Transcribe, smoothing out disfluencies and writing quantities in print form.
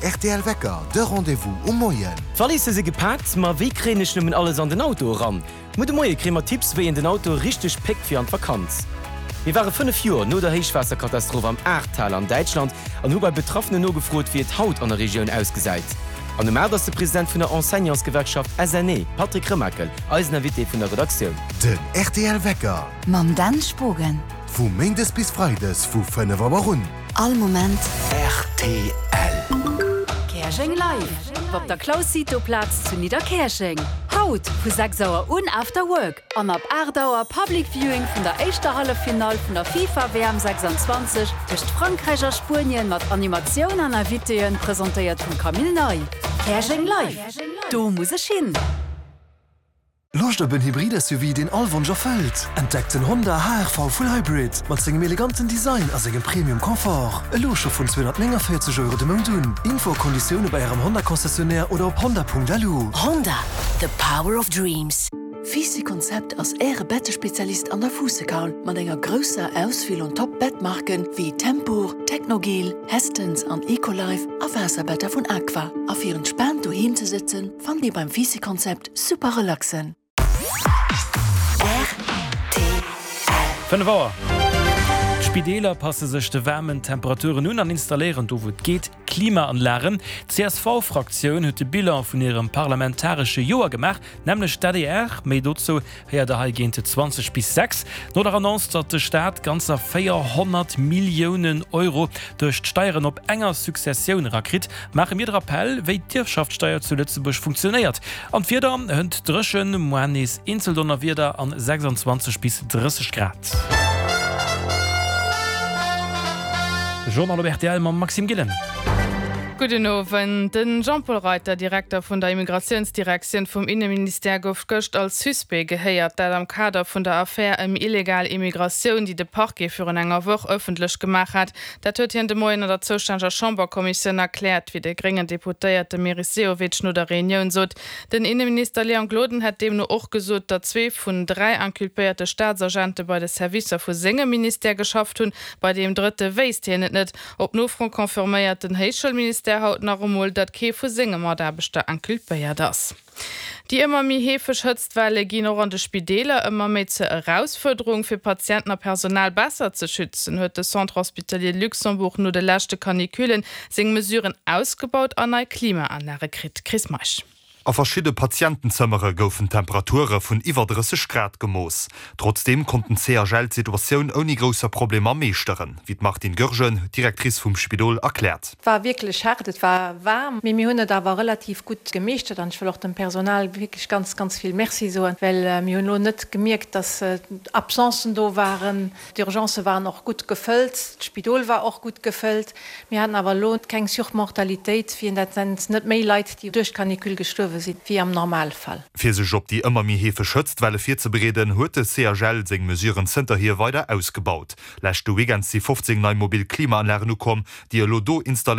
Rtl Wecker, de Rendez-vous um Moien. D'Walisse si gepaakt, ma wéi kréien ech nëmmen alles an den Auto eran? Muer de Moie kréie mer Tipps, wéi een den Auto richteg péckt fir an d'Vakanz. Mir ware 5 Joer no der Héichwaasserkatastroph am Ahrtal an Däitschland an hu bei Betraffenen nogefrot, wéi et haut an der Regioun ausgesäit. An um 8 ass de President vun der Enseignantsgewerkschaft SNE, Patrick Remakel, eisen Invité vun der Redaktioun. Den rtl Wecker. Mam Dan Spogen. Vu Méindes bis Freides vu 5 Auer un. All Moment. Rtl. Käerjeng Live! Op der Claus Cito Plaz zu Nidderkäerjeng. Haut vu 6 Auer un After Work an ab 8 Auer Public Viewing vun der éischter Halleffinall vun der FIFA WM 26 tëscht Frankräich a Spuenien mat Animatioun an Invitéen, presentéiert vum Camille Ney. Käerjeng Live! Do muss ech hin! Loscht op en Hybrid-SUV, deen all Wonsch erfëllt? Entdeckt den Honda HR-V Full Hybrid mat sengem eleganten Design a sengem Premium Confort. Elo scho vun 249 Euro de Mount un. Info a Konditioune bei Ärem Honda-Concessionnaire oder op honda.lu. Honda, the power of dreams. Vici Concept ass Äre Bettespezialist an der Fuussekaul mat enger grousser Auswiel un Top Bettmarken wéi Tempur, Technogel, Hestens an Ecolife a Waasserbetter vun Aqua. A fir entspaant doheem ze sëtzen, fannt Dir beim Vici Concept Super relaxen. Rtl. 5 Auer. D'Spideeler passe sech de waarmen Temperaturen un an installéieren do wou et geet Klimaanlagen. D'CSV-Fraktioun huet de Bilan vun hirem parlamentaresche Joer gemaach, nämlech d'ADR. Méi dozou héiert der hei géint 20 bis 6. No der Annonce, datt de Staat ganzer 400 Milliounen Euro duerch d'Steieren op enger Successioun erakritt, maache mir de Rappell, wéi d'Ierfschaftssteier zu Lëtzebuerg funktionéiert. An d'Wieder, hënt dréchen, moar nees eenzel Donnerwieder an 26 bis 30 Grad. De Journal op rtl mam Maxime Gillen. Gudden Owend. De Jean-Paul Reiter, Direkter vun der Immigratiounsdirektioun vum Inneministère, gouf gëscht als Suspect gehéiert. Dat am Kader vun der Affär ëm illegal Immigratioun, déi de Parquet virun enger Woch ëffentlech gemaach hat. Dat huet hien de Moien an der zoustänneger Chamberkommissioun erkläert, wéi de gréngen Deputéierte Meris Sehovic no der Reunioun sot. Den Inneminister Léon Gloden hätt deemno och gesot, datt zwee vun 3 inculpéierte Staatsagente bei de Servicer vu sengem Ministère geschafft hunn. Bei deem drëtte wéisst hien et net. Op Nofro confirméiert den Héichschoulministère haut nach emol, datt kee vu senge Mataarbechter inculpéiert ass. Déi ëmmer méi heefeg Hëtztwelle ginn och an de Spideeler ëmmer méi zur Erausfuerderung. Fir Patienten a Personal besser ze schützen, huet de Centre Hospitalier Luxembourg no de leschte Canicullen seng Mesuren ausgebaut an nei Klimaanlage kritt. Chris Meisch. A verschidde Patientenzëmmere goufen Temperature vun iwwer 30 Grad gemooss. Trotzdeem konnt den CHL d'Situatioun ouni grousser Problemer meeschteren, wéi d'Martine Goergen, Directrice vum Spidol, erkläert. Et war wierklech haart, et war waarm, mee mir hunn et awer relativ gutt gemeeschtert an ech wëll och dem Personal wierklech ganz, ganz vill Merci soen, well mir hunn elo net gemierkt, dass Absencen do waren. D'Urgencë waren och gutt gefëllt, d'Spidol war och gutt gefëllt. Mir haten awer elo keng Surmortalitéit, wéi een dat nennt, net méi Leit, déi duerch d'Canicule gestuerwe sinn, wéi am Normalfall. Fir sech op déi ëmmer méi heefeg Hëtztwelle virzebereeden, huet de CHL seng Mesuren zënterhier weider ausgebaut. Leschte Weekend si 15 nei mobil Klimaanlagen ukomm, déi elo do installéiert.